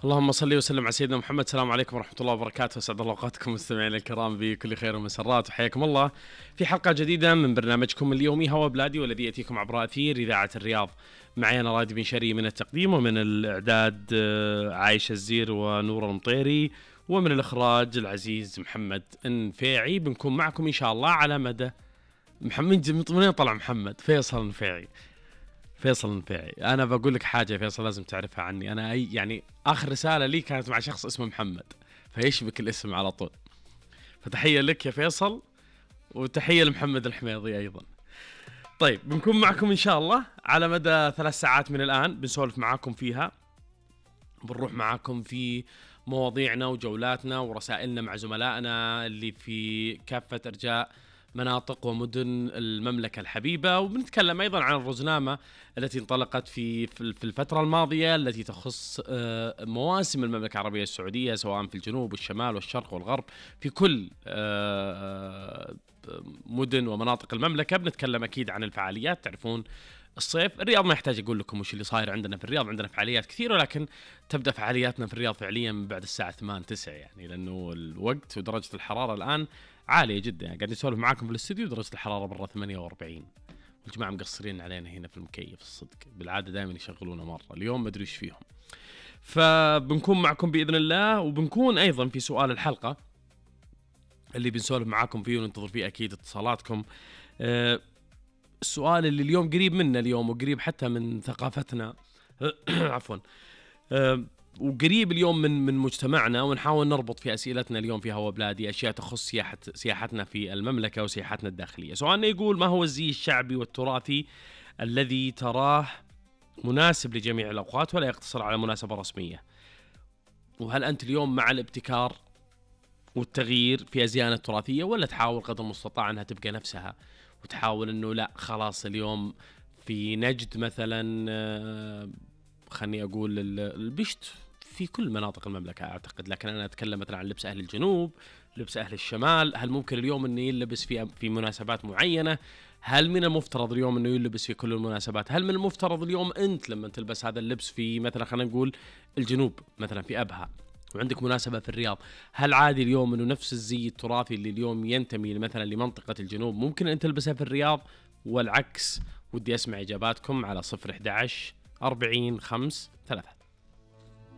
اللهم صل وسلم على سيدنا محمد. السلام عليكم ورحمة الله وبركاته. أسعد الله أوقاتكم مستمعينا الكرام بكل خير ومسرات، وحياكم الله في حلقة جديدة من برنامجكم اليومي هوا بلادي، والذي يأتيكم عبر أثير إذاعة الرياض. معي أنا رائد بن شري من التقديم، ومن الإعداد عايشة الزير ونور المطيري، ومن الإخراج العزيز محمد النفيعي. بنكون معكم إن شاء الله على مدى محمد. من طلع محمد فيصل النفيعي. فيصل النفيعي، أنا بقول لك حاجة فيصل لازم تعرفها عني. أنا يعني آخر رسالة لي كانت مع شخص اسمه محمد، فيشبك الاسم على طول. فتحية لك يا فيصل، وتحية لمحمد الحميضي أيضا. طيب، بنكون معكم إن شاء الله على مدى 3 ساعات من الآن، بنسولف معاكم فيها، بنروح معاكم في مواضيعنا وجولاتنا ورسائلنا مع زملائنا اللي في كافة أرجاء مناطق ومدن المملكة الحبيبة، وبنتكلم أيضا عن الرزنامة التي انطلقت في الفترة الماضية التي تخص مواسم المملكة العربية السعودية، سواء في الجنوب والشمال والشرق والغرب، في كل مدن ومناطق المملكة. بنتكلم أكيد عن الفعاليات. تعرفون الصيف الرياض ما يحتاج أقول لكم وش اللي صاير عندنا في الرياض. عندنا فعاليات كثيرة، ولكن تبدأ فعالياتنا في الرياض فعليا من بعد الساعة 8-9 يعني، لأنه الوقت ودرجة الحرارة الآن عالية جدا. يعني قاعد نسولف معاكم في الاستوديو درجة الحرارة برا 48، والجماعة مقصرين علينا هنا في المكيف. الصدق بالعادة دائما يشغلونا مرة، اليوم ما أدري إيش فيهم. فبنكون معكم بإذن الله، وبنكون أيضا في سؤال الحلقة اللي بنسولف معاكم فيه وننتظر فيه أكيد اتصالاتكم. السؤال اللي اليوم قريب منا اليوم، وقريب حتى من ثقافتنا عفوا، وقريب اليوم من مجتمعنا، ونحاول نربط في أسئلتنا اليوم في هوا بلادي أشياء تخص سياحتنا في المملكة وسياحتنا الداخلية. سؤالنا يقول: ما هو الزي الشعبي والتراثي الذي تراه مناسب لجميع الأوقات ولا يقتصر على مناسبة رسمية؟ وهل أنت اليوم مع الابتكار والتغيير في أزياءنا التراثية، ولا تحاول قدر المستطاع أنها تبقى نفسها، وتحاول أنه لا خلاص اليوم في نجد مثلا، خلني أقول البشت في كل مناطق المملكة أعتقد، لكن أنا أتكلم مثلا عن لبس أهل الجنوب، لبس أهل الشمال. هل ممكن اليوم أنه يلبس في مناسبات معينة؟ هل من المفترض اليوم أنه يلبس في كل المناسبات؟ هل من المفترض اليوم أنت لما تلبس هذا اللبس في مثلا خلينا نقول الجنوب مثلا في أبها، وعندك مناسبة في الرياض، هل عادي اليوم أنه نفس الزي التراثي اللي اليوم ينتمي مثلا لمنطقة الجنوب ممكن أن تلبسها في الرياض والعكس؟ ودي أسمع إجاباتكم على 011 40 5 3.